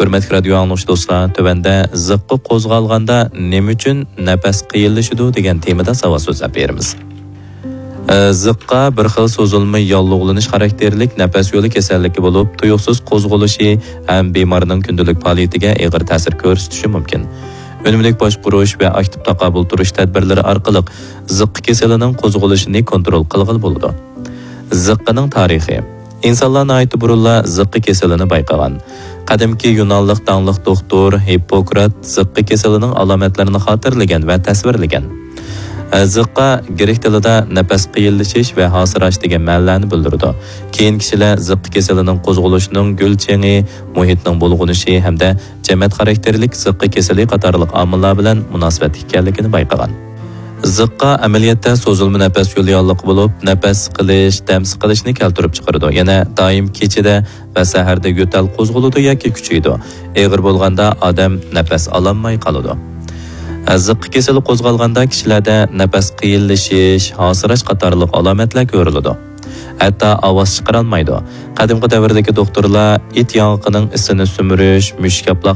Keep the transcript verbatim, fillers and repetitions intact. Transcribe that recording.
ھۆرمەتلىك رادىيو ئاڭلىغۇچى دوستلار، تۆۋەندە زىققا قوزغالغاندا نېمە ئۈچۈن نەپەس قىيىنلىشىدۇ دېگەن تېمىدا ساۋات سۆزلەپ بېرىمىز. ئە، زىققا بىر خىل سوزۇلما ياللۇغلىنىش خاراكتېرلىك نەپەس يولى كېسەللىكى بولۇپ، تۇيۇقسىز قوزغىلىشى ھەم بىمارنىڭ كۈندىلىك پائالىيىتىگە ئېغىر تەسىر كۆرسىتىشى مۇمكىن. ئۈنۈملۈك باشقۇرۇش ۋە ئاكتىپ تاقابىل تۇرۇش تەدبىرلىرى ئارقىلىق زىققا كېسىلىنىڭ قوزغىلىشىنى كونترول قىلغىلى بولىدۇ. زىققىنىڭ تارىخى. ئىنسانلار ناھايىتى بۇرۇنلا زىققا كېسىلىنى بايقىغان. قەدىمكى يۇنانلىق داڭلىق دوختۇر ھىپپوكرات زىققا كېسىلىنىڭ ئالامەتلىرىنى خاتىرىلىگەن ۋە تەسۋىرلىگەن. زىققا گرېك تىلىدا نەپەس قىيىنلىشىش ۋە ھاسىراش دېگەن مەنىلەرنى بىلدۈرىدۇ. كېيىن كىشىلەر زىققا كېسىلىنىڭ قوزغىلىشىنىڭ گۈل چېڭى، مۇھىتنىڭ بۇلغىنىشى ھەمدە جەمەت خاراكتېرلىك زىققا كېسىلى قاتارلىق ئامىللار بىلەن مۇناسىۋەتلىك ئىكەنلىكىنى بايقىغان. زىققا ئەمەلىيەتتە سوزۇلما نەپەس يولى ياللۇغى بولۇپ، نەپەس سىقىلىش، دەم سىقىلىشنى كەلتۈرۈپ چىقىرىدۇ. يەنە دائىم كېچىدە ۋە سەھەردە يۆتەل قوزغىلىدۇ ياكى كۈچىيىدۇ. ئېغىر بولغاندا ئادەم نەپەس ئالالماي قالىدۇ. زىققا كېسىلى قوزغالغاندا كىشىلەردە نەپەس قىيىنلىشىش، ھاسىراش قاتارلىق ئالامەتلەر كۆرۈلىدۇ. ھەتتا ئاۋاز چىقىرالمايدۇ. قەدىمكى دەۋردىكى دوختۇرلار ئىت ياڭىقىنىڭ ئىسىنى سۈمۈرۈش، مۈشۈك ئاپلاق